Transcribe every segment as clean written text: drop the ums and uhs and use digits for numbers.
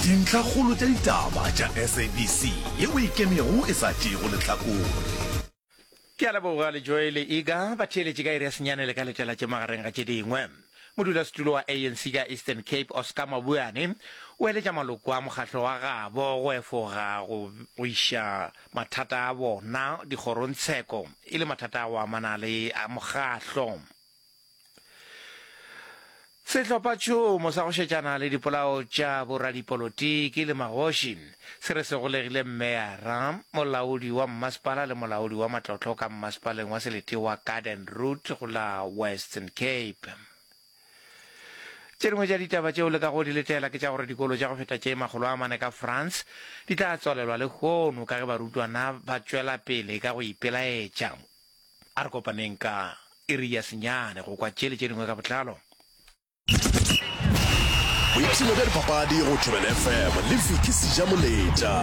Dintlhakgolo tša ditaba tša SABC yeo e ikemego e sa tšeego lehlakore. Ke a leboga Lejoe le Iga ba theeletše ka iri ya senyane le ka letela tše magareng ga tše dingwe. Modulasetulo wa ANC ka Eastern Cape Oscar Mabuane o eletša maloko a mokgahlo wa gabo go efoga go go iša mathata a bona dikgorongtsheko e le mathata a go amana le a mokgahlo. Sehlophatšhomo sa go šetšana le dipolao tša boradipolotiki le magoši se re se golegile mmeyara, molaodi wa mmasepala le molaodi wa matlotlo ka mmasepaleng wa selete wa Garden Route go la Western Cape. Tše dingwe tša ditaba tšeo le kago di letela ke tša gore dikolo tša go feta tše 400 ka France di tla tswalelwa lehono ka ge barutwana ba tšwela pele ka go ipelaetša. A re kopaneng ka iri ya senyane go kwa tše le tše dingwe ka botlalo. Boipshino bja dipapadi go Thobela FM le Vicky Sejamoletša.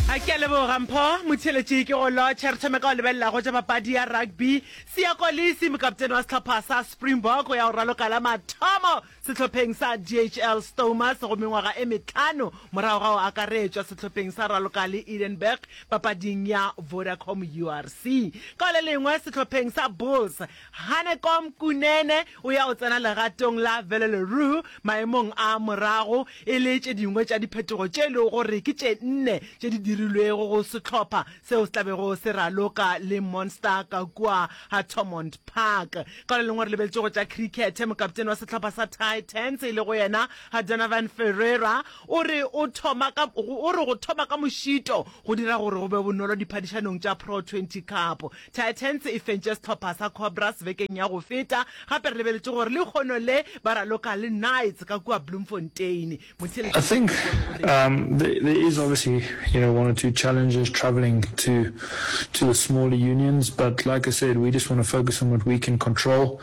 A ke a leboga Mpho Motheeletši ke go lotšha. Re thome ka go lebelela go tša papadi ya rugby. Siya Kolisi, mokaptene wa sehlopha sa Springbok, o ya go raloka la mathomo Sehlopheng sa DHL Stomers go mengwaga e mehlano morago ga go akaretšwa sehlopheng sa raloka le Edenburg papading ya Vodacom URC. Ka le lengwe sehlopheng sa Bulls, Hanekom Kunene o ya go tsena legatong la Vele le Roux maemong a morago e le tše dingwe tša diphetogo tše e lego gore ke tše nne tše di dirilwego go sehlopha seo se tla bego se raloka le Munster ka kua Thomond Park. Ka le lengwe re lebeletše go tša khrikhethe, mokaptene wa sehlopha sa Titans e lego yena Donovan Ferreira o re o thoma ka o re go thoma ka mošito go dira gore go be bonolo diphadišanong tša Pro 20 Cup. Titans e fentše sehlopha sa Cobras bekeng ya go feta. Gape re lebeletše gore lehono le ba raloka le Knights ka kua Bloemfontein. I think um, there, there is obviously you know one or two challenges traveling to to the smaller unions, but like I said, we just want to focus on what we can control,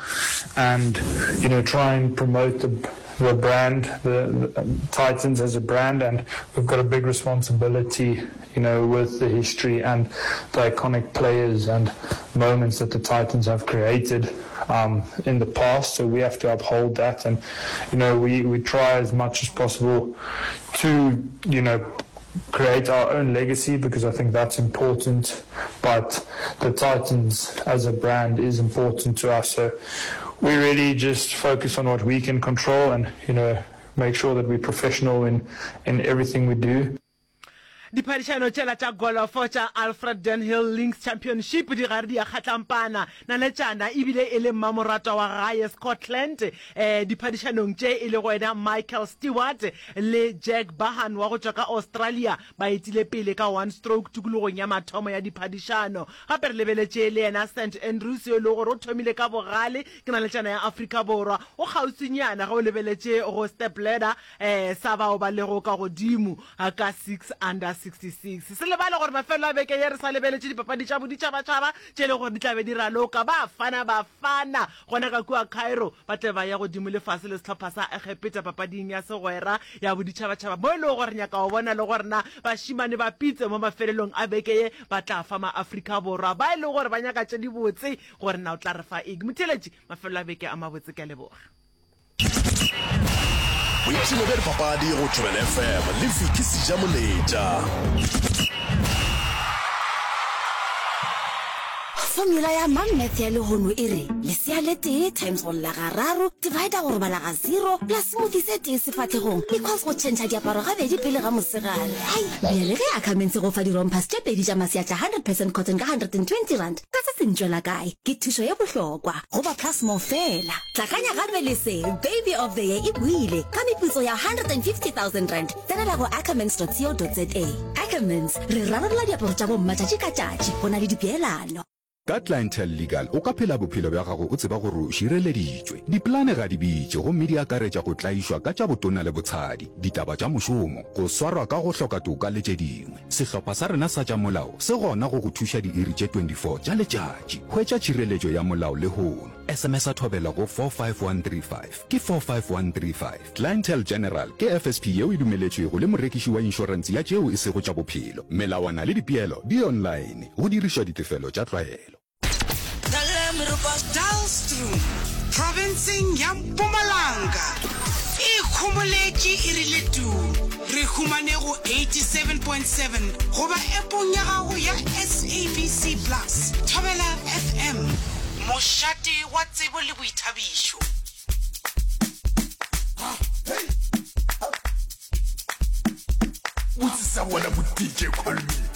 and you know try and promote the the brand, the, the um, Titans as a brand, and we've got a big responsibility, you know, with the history and the iconic players and moments that the Titans have created um, in the past. So we have to uphold that, and you know, we we try as much as possible to you know create our own legacy because I think that's important. But the Titans as a brand is important to us. So we really just focus on what we can control and, you know, make sure that we're professional in, in everything we do. Diphadišano tšela tša golofo tša Alfred Dunhill Links Championship di gare di a kgatlampana. Naletšana e bile e le mmamoratwa wa gae Scotland diphadišanong tše e lego yena Michael Stewart le Jack Bahan wa go tšwa ka Australia ba etile pele ka one stroke tikologong ya mathomo ya diphadišano. Gape re lebeletše le yena St Andrews yo e lego gore o thomile ka bogale ke naletšana ya Afrika Borwa. O kgauswinyana ge o lebeletše go step ladder sa bao ba lego ka godimo ka 6 under 66. Se lebale gore mafelelo a beke ye re sa lebeletše dipapadi tša boditšhabatšhaba tše e lego gore di tla be di raloka Bafana Bafana gona ka kua Cairo ba tle ba ye godimo le fase le sehlopha sa Egepeta papading ya segwera ya boditšhabatšhaba mo e lego gore nyaka go bona le gore na bašemane ba pitse mo mafelelong a beke ye ba tla fa ma-Afrika Borwa ba e lego gore ba nyaka tše dibotse gore na o tla re fa eng. Motheeletši, mafelelo a beke a mabotse ke a leboga. Boipshino bja dipapadi go Thobela FM le Vicky Sejamoletša. Formula ya Mom Math ya lehono e re, lesea le tee times go lla gararo, divider go robala ga zero, plus smoothie se tee sefahlegong, equals go tšhentšha diaparo gabedi pele ga mosegare. Hai! Bjale ge Ackermans e go fa di-rompers tše pedi tša masea tša 100 percent cotton ka R120, ka se se ntšwela kae? Ke thušo ye bohlokwa go ba Plus More fela. Tlakanya gape le se, Baby of the Year e boile ka meputso ya R150 000. Tsenela go ackermans.co.za. Ackermans, re rarolla diaparo tša bomma tšatši ka tšatši go na le dipeelano. Ka Clientele Legal o ka phela bophelo bja gago o tseba gore o šireleditšwe. Dipolane ga di bitše gomme di akaretša go tlaišwa ka tša botona le botshadi, ditaba tša mošomo, go swarwa ka go hloka toka le tše dingwe. Sehlopha sa rena sa tša molao se gona go go thuša diiri tše 24 tša letšatši. Hwetša tšhireletšo ya molao lehono. SMS-a Thobela go 45135. Ke 45135. Clientele General ke FSP yeo e dumeletšwego le morekiši wa inšorense ya tšeo e sego tša bophelo. Melawana le dipeelo di online, go dirišwa ditefelo tša tlwaelo. Dullstroom, profenseng ya Mpumalanga, e khumana. homoletše e rile tuu. Re humane go 87.7 goba appong ya gago ya SABC Plus. Thobela FM, mošate wa tsebo le boithabišo. Botse sa bona bo DJ Call Me.